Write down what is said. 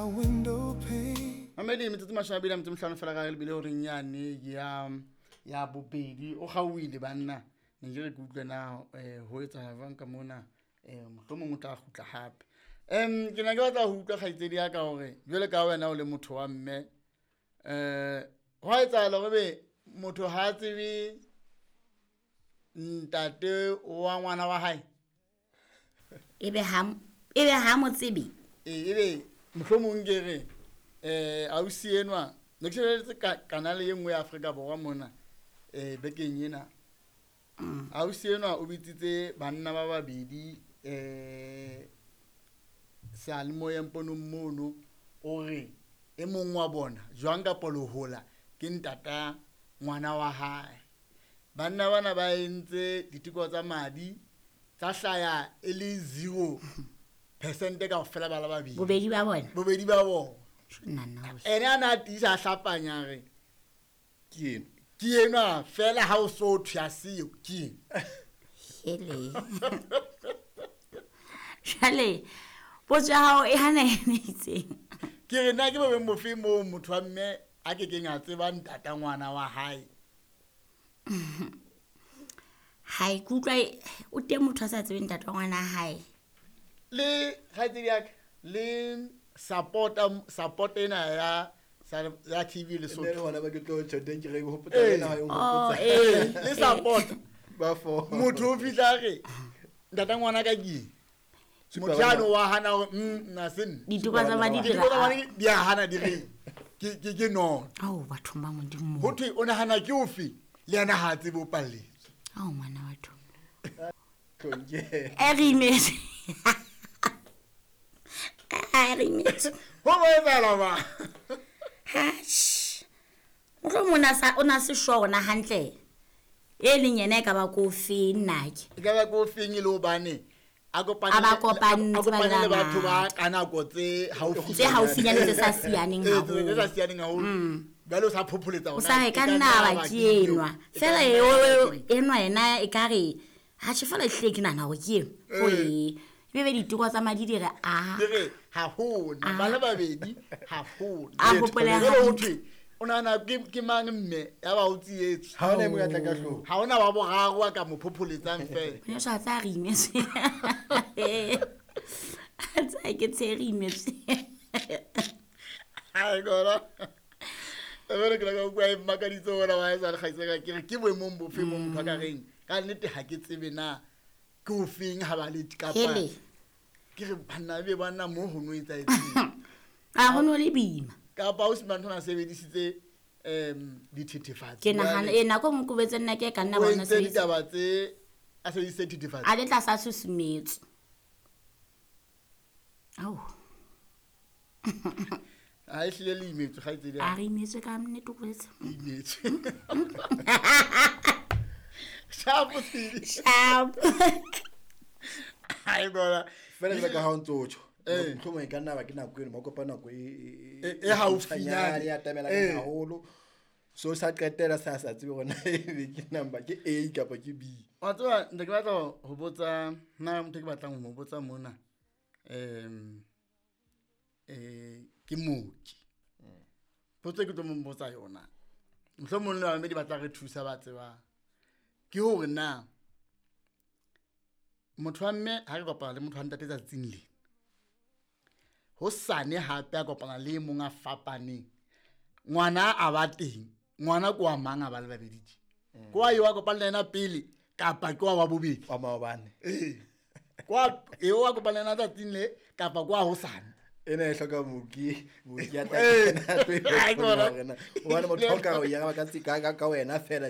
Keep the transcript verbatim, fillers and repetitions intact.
my window pane. Mamedi, metsotso mashome a mabedi a metso e mehlano fela ka lebile horeng yane ya ya bobedi. O kgaohile banna, ne ke re ke utlwe na um ho etsahala jwang ka mona, um mohlomong o tla kgutla hape. Um ke ne ke batla ho utlwa kgaitsedi ya ka hore jwale ka wena o le motho wa mme, um hwa etsahala hore be motho ha a tsebe ntate wa ngwana wa hae? Ebe ha ebe ha mo tsebe? Ee, ebe mohlomong ke re eh ausi enwa ne ke shebeletse kanale e nngwe ya Afrika Borwa mona eh bekeng ena. Ausi enwa o bitsitse banna ba babedi eh seyalemoyeng ponong mono, o re e mong wa bona jwang kapa lehola ke ntata ngwana wa hae. Banna bana ba entse diteko tsa madi tsa hlaya e le zero percent kaofela ba le babedi. Bobedi ba bona? Bobedi ba bona. Nna nna. Ene a na tiisa a hlapanya re ke eno. Ke enwa fela ha o so thwe a seo ke eno. Hele. Jwale potso ya hao e hana ene itseng. Ke re na ke bo bofe moo motho wa mme a kekeng a tseba ntata ngwana wa hae? Ha ke utlwa o teng motho a sa tsebeng ntata wa ngwana hae. Le kgaitsedi ya ka le support support ena ya ya T V le Nne le Sotho. hona ba ke tlo tjho teng ke re hopotsa Eh. wena ha o Oh, hopotsa. eh. Le support. Ba fo. Motho o fihla re ntata ngwana ka ke eng? Supa Motho bana. yane wa hana hore, mm, nna se nna. Diteko tsa madi di Diteko tsa re madi di a hana di re ke, ke, ke nono. Ao, bathong ba Modimo. Ho thwe o nahana ke ofe? Le yena ha a tsebe o palletswe. Ao, ngwana batho. Tlonke. E re imetse. A re imetse. Ho bo etsahala ba? Atjhe. Mohlomong o na sa, o na se sure hore na hantle e leng yena e ka ba ko feng nna ke. E ka ba ko feng e le hobane a kopane A ba le- kopantse a kopane ba le batho ba bangata. ka nako tse haufi. Tse haufinyane tse sa siyaneng Ee, tse haholo. sa siyaneng haholo. Mm. Jwale o sa phopholetsa O hore sa na re e ka ka nna nna ba ba ke ke eo. enwa. E ka Fela nna eo, ba eo, ke eo. enwa yena e ka re, atjhe fela ehlile ke nahana hore ke eno. Eh. Ho e. Ebe be diteko tsa madi di re, a. Di re, ha hona. Ah. Ba le babedi, ha hona. A hopole Jwale ho hantle. thwe, o nahana ke, ke mang mme ya ba o tsietswe? Ha hona e mong a tla ka hloohong. Ha hona wa boraro a ka mo phopholetsang fela. Ngwaneso, a tsaya re imetswe. A tsaya ke tshe re imetswe. Ai, gona. Ebele ke la ka utlwa e mmakaditse hona wa haesale kgaitsedi ka ke re, ke boemong bofe moo motho a ka reng? Ka nnete ha ke tsebe na ke ofeng ha ba le kapa Hele. Ke re banna ebe banna moo ho no etsahetseng. A ho no le boima. Kapa o se mantho a sebedisitse, em, dithethefatsi. Ke nahana, Jwale eh, nako e nngwe ke betse nna ke ka nna o bona entse sebedisa. ditaba tse a sebedisitse dithethefatsi. A le tlasa susumetso. Ao. Ha e hlile le imetswe, kgaitsedi ya A re imetswe ka nnete o boletse. Le imetswe. Sharp, Sidi. Sharp. Ai, bona. Fela jwalo ka ha o ntso o tjho. Eh. Mohlomong e ka nna ba ke nako eno, ba kopa nako e, e, E, e haufinyane. e atamela Eh. haholo. So sa qetela sa sa tsebe hore na ebe ke number ke A kapa ke B. Wa tseba, nte ke batla ho botsa, nna motho ke batlang ho mo botsa mona, em, eh, ke mooki. Potso e ke tlo mo botsa yona, mohlomong le bamamedi ba tla re thusa ba tsebang, ke hore na motho wa mme ha re kopana le motho wa ntate tsatsing lena, hosane hape a kopana le e mong a fapaneng, ngwana a ba teng, ngwana ke wa mang a ba le babedi tje? Ke wa eo a kopana le yena pele kapa ke wa wa bobedi? Wa maobane. Ee. Ke wa eo a kopana le yena tsatsing le kapa ke wa hosane? Ena e hloka mooki, mooki a tla Eh. kena a tlo e Ai, bona bona. hore na, hobane motho o ka re o e araba ka tse-, ka, ka, ka wena fela.